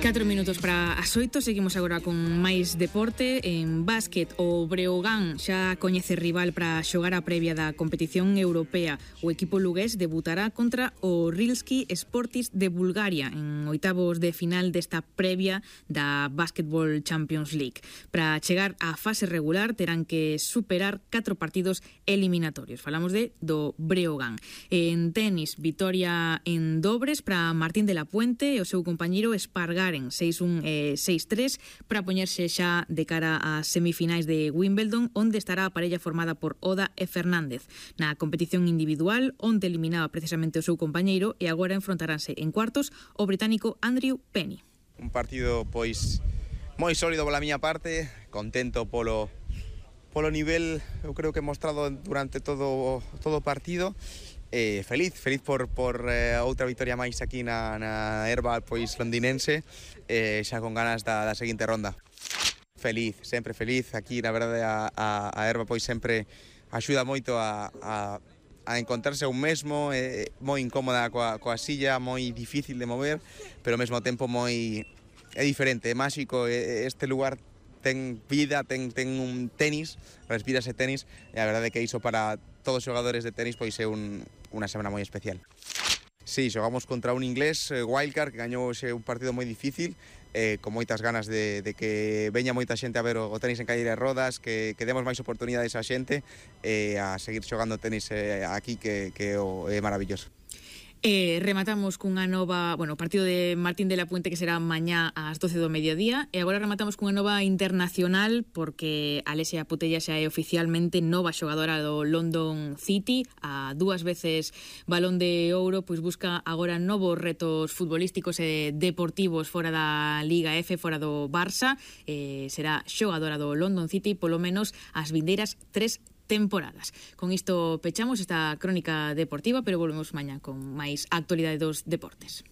4 minutos para as 8, seguimos agora con máis deporte. En básquet, o Breogán xa coñece rival para xogar a previa da competición europea. O equipo lugués debutará contra o Rilski Sportis de Bulgaria en oitavos de final desta previa da Basketball Champions League. Para chegar á fase regular terán que superar 4 partidos eliminatorios. Falamos do Breogán. En tenis, vitoria en dobres para Martín de la Puente e o seu compañeiro Espargaren 6-1 e 6-3 para poñerse xa de cara ás semifinais de Wimbledon, onde estará a parella formada por Oda e Fernández. Na competición individual, onde eliminaba precisamente o seu compañeiro, e agora enfrontaránse en cuartos o británico Andrew Penny. Un partido pois moi sólido pola miña parte, contento polo nivel, eu creo que he mostrado durante todo o partido. Feliz por outra vitoria máis aquí na herba pois londinense, xa con ganas da seguinte ronda. Feliz, sempre feliz. Aquí, na verdade, a herba pois sempre axuda moito a encontrarse un mesmo, moi incómoda coa silla, moi difícil de mover, pero ao mesmo tempo é diferente, é máxico. Este lugar ten vida, ten un tenis, respírase tenis, e a verdade é que iso para todos os xogadores de tenis pois é unha semana moi especial. Sí, xogamos contra un inglés, Wildcard, que gañou un partido moi difícil, con moitas ganas de que veña moita xente a ver o tenis en cadeira de rodas, que demos máis oportunidades a xente, a seguir xogando tenis aquí, que é maravilloso. Rematamos cunha nova, partido de Martín de la Puente, que será mañá ás 12 do mediodía, e agora rematamos cunha nova internacional, porque Alessia Putella xa é oficialmente nova xogadora do London City, a 2 veces Balón de Ouro, pois busca agora novos retos futbolísticos e deportivos fora da Liga F, fora do Barça. Será xogadora do London City polo menos as vindeiras 3 temporadas. Con isto pechamos esta crónica deportiva, pero volvemos mañá con máis actualidade dos deportes.